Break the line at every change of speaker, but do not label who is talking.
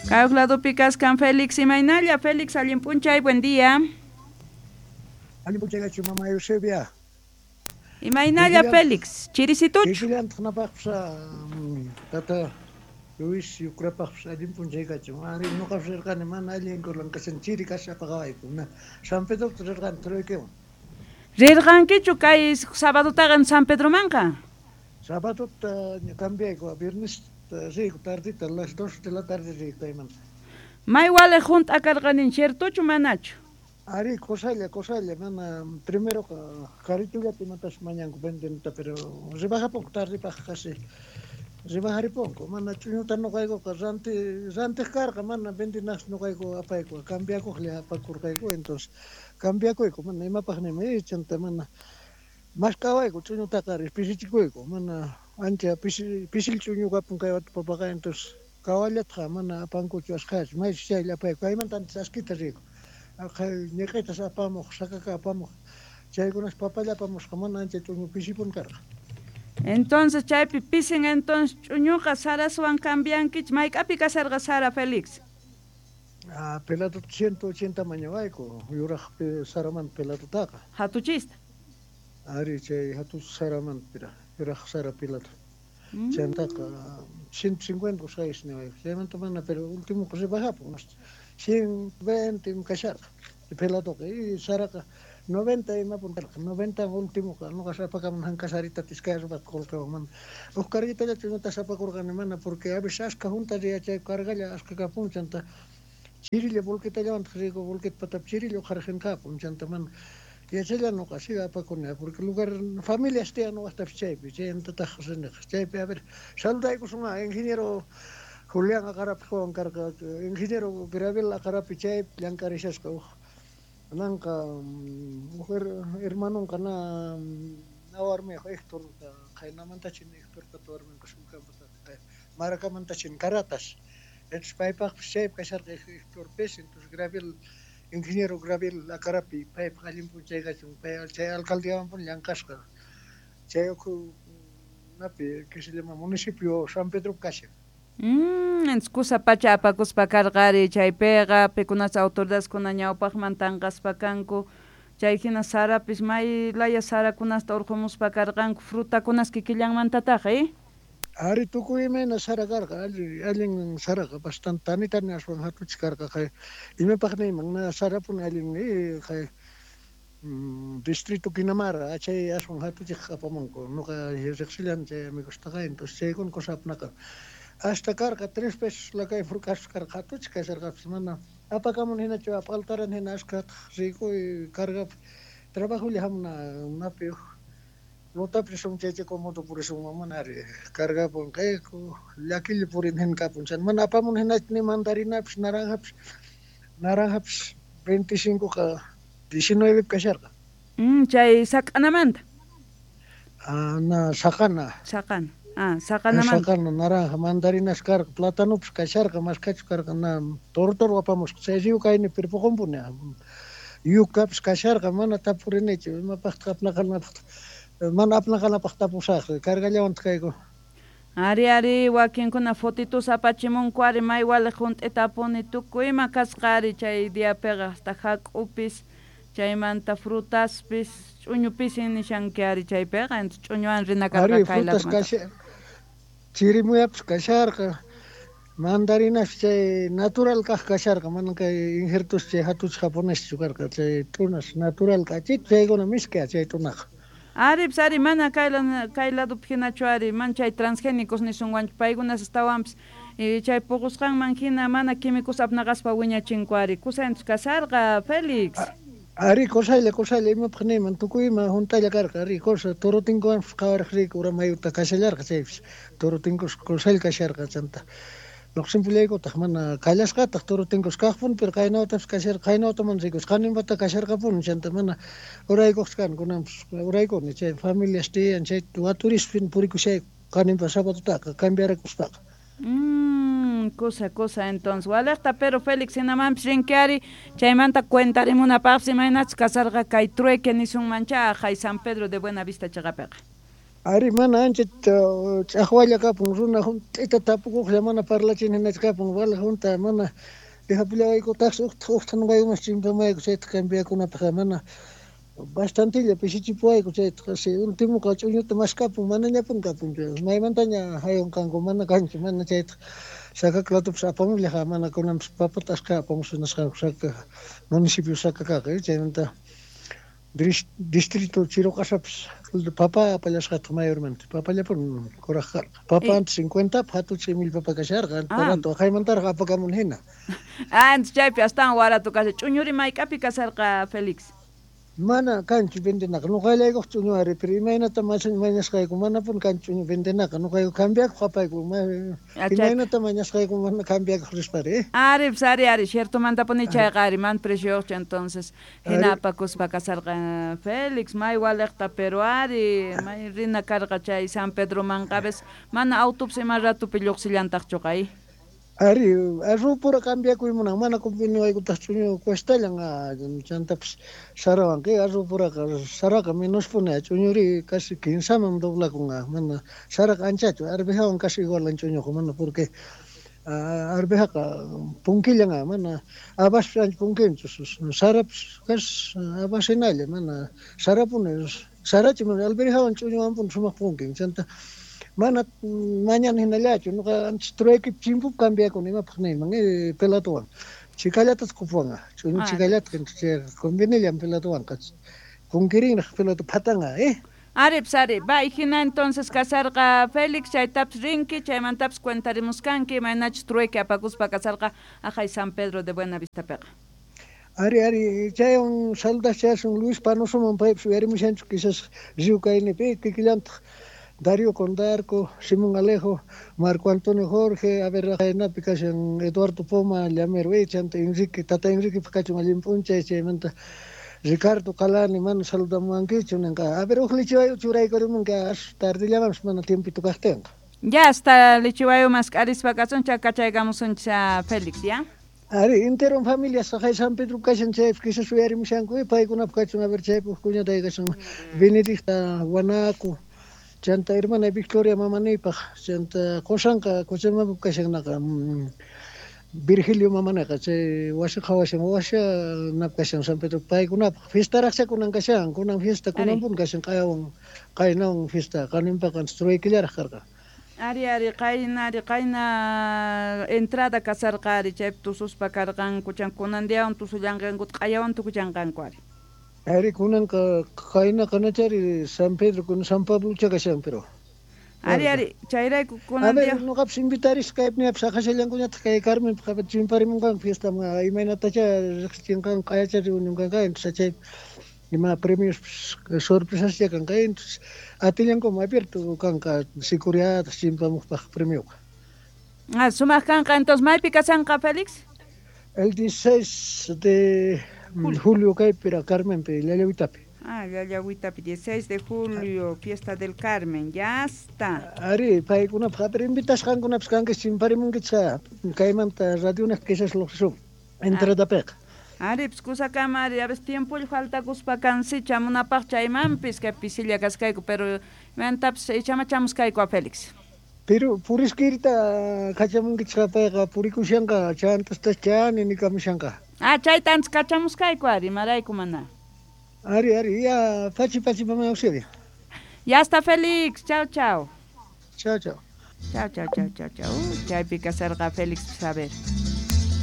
Kay ladopi kaskan Félix, imaynalla Félix, allin p'unchay, buen día.
Allin p'unchay kachu mama Eusebia.
Imaynalla Félix, chirisituchu.
Kikillantaq napaqpis tata Luis Yucrapaqpis allin p'unchay kachun. Ari ñuqapis rirqani mana allin kulan kashan chiri kasapaqawayku. San Pedrota rirqani truequewan.
Rirqankichu kay sabadotaqa San Pedromanqa?
Sabadota cambiayku, viernes riyku tardita, las 2 de la tarde riyku kaymanta.
May waliq hunt'a karqanin, ciertochu manachu?
Ari, cosalla, cosalla, mana, primero carritullata imatas mañanku vendenata, pero rebajaponku tardipaq casi, rebajariponku, mana ch'uñuta ñuqaykuqa ranti rantiq karqa, mana vendenas ñuqayku apayku, cambiakuqlla apakurqayku, entonces cambiakuyku, mana imapaq nima, chanta mana mask'awayku ch'uñutaqa pisichikuyku, mana ancha pisi pisil ch'uñu kapun kay wata papaqa, entonces kawallatqa mana apankuchu asqhachu, maychus chaylla apayku, kaymanta antes askita riyku. Ñiq'itas apamuq, sakaka apamuq, chaykunas papalla apamusqa, mana ancha ch'uñu pisipun karqa.
Entonces chaypi pisin entonces ch'uñuqa saraswan cambiankichik, mayk'api kasarqa sara Félix?
Ah, pelatota 180 mañawayku, yuraq saramanta pelatutaqa.
Hatuchista.
Ari chay hatuch saramanta pira, yuraq sara pilato. Chaymantaka 150 usqhaysi niwayku, chaymanta mana, pero último rebajapun, 120 kasharqa pelatoqa, y saraqa 90 imapun karqa, 90 últimoqa, ñuqa apakamun hanka saritata iskay arrobata qullqiwan, mana huk carguitalla ch'uñutas apakurqani mana, porque a veces askha junta riya chay cargalla askha kapun, chanta chirilla volquetallawantaq riyku, volqueta patapi chirilla uqharqin kapun, chanta mana yachalla ñuqa siga apakuni, porque lugar familias tiyan ñuqaqtapis chaypi, chaymantataq riniqa, chaypi a ver saludaykusun ingeniero Julián Aqarapi Juan karqa, ingeniero Gravel Aqarapi chaypi llank'arishasqa huk nanqa huk hermanonqa na warmiyuq Héctor qaynamantachin Héctorpata warminqa sulkanpata Maracamantacha Caratas, entonces paypaqpis chaypi kasharqa Héctorpis, entonces Gravel ingeniero Gravel Aqarapi paypaq allin p'unchay kachun, pay chay alcaldiawanpuni llank'asqa, chay ukhu napi que se llama municipio San Pedro kashan.
Entonces kusa pacha apakuspa karqa ari chaypiqa, pikunas autoridadeskuna ñawpaqman tanqaspa kanku, chay hina sarapis may laya sarakunasta urqumuspa karqanku, frutakunas kikillanmantataq, eh?
Ari tukuy imayna sara karqa, allin allin saraqa bastante tani tani aswan hatuchik karqa, kay imapaq niyman na sarapuni allin kay distrito Quinamara chay aswan hatuchik apamunku, ñuqa riqsillan chay amigostaqa, entonces chaykuna cosa apnaqa. Hasta karqa 3 pesos la kay furkas karqa hatuchik kasharqapis, mana apakamun hinachu ap'altaran hina askhataq riyku carga trabajolla hamuna napi lotapis risun chay chay comodo purisun mana ari cargapun kayku llakilla purin hina kapun, chay mana apamun hinachu ni mandarinapis naranjapis, naranjapis 25 qa 19 kasharqa.
Chay sak'anamanta.
Ah, na saqana.
Saqana. Ah, saqanamanta.
Saqana, naranja, mandarinas karqa, platanopis kasharqa, maskachu karqa, na toro toro apamusqa, chay riw kayni pirpuqunpuni. Yukapis kasharqa, mana tapurinichu, imapaqtaq apnaqanapaq, mana apnaqanapaq tapusaq, cargallawantaq kayku.
Ari, ari, wakinkuna fotitos apachimunku ari may waliq hunt'itapuni tukuy ima kasqa ari chay diapiqa, hasta hak'upis, chaymanta frutaspis, ch'uñu pisin nishanki ari chaypiqa, entonces ch'uñuwan rina karqa
Ari,
kay
frutas
ladumanta.
kasha, chirimuyapis kasharqa, mandarinas chay natural kaq kasharqa, mana kay injertos chay hatuch japoneschu karqa, chay tunas natural kachit, chaykuna misk'a chay tunaqa.
Ari, pues ari, mana kay ladopi hinachu ari, man chay transgénicos nisunwanchu, paykunas astawanpis, chay puqusqanman hina mana químicos apnaqaspa wiñachinku ari, kusa entonces kasarqa, Félix.
Ari, cosalla, cosalla, imapaq niyman, tukuy ima juntalla karqa, ari, cosa, torotinkuwanpis qhawaraq riyku, ura mayuta kashallarqa chaypis, torotinkus cosalla kasharqa, chanta lluqsinpullaykutaq, mana kallasqataq torotinkus kaqpuni, pero qaynawatapis kasharqa, qaynawata mana rikusqa, qaninpata kasharqapuni, chanta mana uraykuqchu kani, kunanpis uraykuni, chay familias tiyan, chay waturispi purikushayku, qaninpa sabadutaqa, cambiarakuspaqa.
Cosa, cosa, entonces, waliqta, pero Félix, hinamanpis rinki ari, chaymanta cuentarimunapaqpis imaynachus kasarqa kay trueque nisunmancha, hay San Pedro de Buenavista chaqapiqa.
Ari mana ancha ch'aqwalla kapun, runa junt'ita tapukuqlla mana parlachin hinachu kapun, wala junta mana dejapullawaykutaqsi uqta nuqaykumas chimpamayku chayta cambiakunapaq mana bastantilla pisichipuwayku chayta si ultimoqa ch'uñuta maskapun manañapun kapunchu, maymantaña haywanqanku mana kanchu, mana chayta Sacaclatupis apamullaqa mana kunanpis papata ashka apamusqa nisqanku Saca municipio Sacakaqa chaymanta distrito Chiruqasapis papa apallasqataq mayormente papallapun kuraq karqa papa antes 50 hatuch'i mil papa kasharqa barato waqaymantaraq apakamun hina.
Antes chaypi astawan warato kasha. Ch'uñuri mayk'api kasharqa, Félix?
Mana kanchu vendenaqa, nuqallaykuq ch'uñu ari, pero imaynata mañasqayku manapuni kanchu ch'uñu vendenaqa, nuqayku cambiakuq apayku, imaynata mañasqayku mana cambiakuq rispari.
Ari, pues ari, ari, ciertomantapuni chayqa ari, man precioyuqchu entonces hina apakuspa kasarqa Félix, may waliqta, pero ari, may rina karqa chay San Pedromanqa, a veces mana autopis ima ratupi lluqsillantaqchuqa.
Ari, arrupura cambiakuy munan, mana conveniwaykutaq ch'uñu cuestallan, chantapis sarawanqa, arrupuraqa saraqa menospuni, ch'uñuri casi kinsaman doblakun, mana saraqa anchachu, arvejawan casi igualan ch'uñuqa, mana porque arvejaqa punkillan, mana habaspis ancha punkinchu, sarapis casi habas hinalla, mana sarapuni, sarachi mana alverjawan ch'uñuwanpuni sumaq punkin, chanta mana mañana hinallachu, nuqa antes trueque chimpup cambiakuni imapaq niyman pelatuwan, chikallatataq qupuwan, ch'uñu chikallata, convenillan pelatuwanqa, punkirinraq pelatu phatanqa.
Ari, pues ari, va, hina entonces kasarqa Félix, chaytapis rinki, chaymantapis cuentarimuskanki, imaynachus trueque apakuspa kasarqa aqhay San Pedro de Buenavistapiqa.
Ari, ari, chaywan saludachasun Luis Panosoman, paypis uyarimushanchu quizás Río Kaynipi, kikillantaq Darío Condarco, Simón Alejo, Marco Antonio Jorge, a ver, qaynapi kashan Eduardo Poma, Llamero, chanta Enrique, tata Enrique kachun allin p'unchay, chaymanta Ricardo Calani, mana saludamuwankichu ninqa, a ver, uj lichiwayu churaykurimunki, as tardillamanpis mana tiempito kaqtinqa.
Ya hasta lichiwayu mask'arispa kasun, chay kachaykamusunchis Félix, ya?
Ari, entero familia saqay San Pedro kashan chaypi quizás uyarimushanku, paykunap kachun, a ver, chaypi uj cuñatay kashan Benedicta Guanaco, chanta hermana Victoria mamanipaq, chanta qosanqa Cochabamba kashannaqa Virgilio mamanaqa, chay wasi qhawashan, washa nap kashan San Pedro paykunapaq, fiestaraqcha kunan kashan, kunan fiesta kunanpuni kashan, q'ayawan qaynawan fiesta, qaninpaqa truequillaraq karqa.
Ari, ari, qayna, ari, qayna entrada kasarqa ari, chaypi tususpa karqanku, chan kunan diawan tusullanqanku, q'ayawan tukuchanqanku ari.
Ari, kunanqa qaynaqa nachari San Pedro kun San Pablocha kashan, pero.
Ari, ari, chayrayku kunan
A ver, nuqapis invitarisqa kaypiniapis aqashallankuñataq kay Carmenpaq chimparimunqanku fiestaman, imaynatacha riqsichinqanku, q'ayacha reunionkanqa, entonces chay ima premios sorpresascha kanqa, entonces atillankuman abierto kanqa sicuriataq chimpamuqpaq premioqa.
Ah, sumaq kanqa, entonces maypi kashanqa, Félix?
El 16 de julio kaypira Carmenpi, Llallawitapi.
Ah, Llallawitapi, 16 de julio, fiesta del Carmen, ya está.
Ari, paykunapaq, pero invitasqankunapis kanki chimparimunkichis kaymanta radionaq quizás lluqsisun entradapiqa.
Ari, pues kusakama ari, a veces tiempo faltakuspa kansi chamunapaq chaymanpis kay pisilla kaskayku, pero imantapis ichamachamuskayku a Félix.
Pero puriskirita kachamunkichis payqa purikushanqa chantasta chani nikamushanqa.
Ah, chayta antes kachamuskayku ari, imarayku mana.
Ari, ari, ya pachi pachi mamá auxilio.
Ya está Félix, chao chao.
Chao chao.
Chao chao chao chao chao. Chaypi kasarqa Félix, a ver.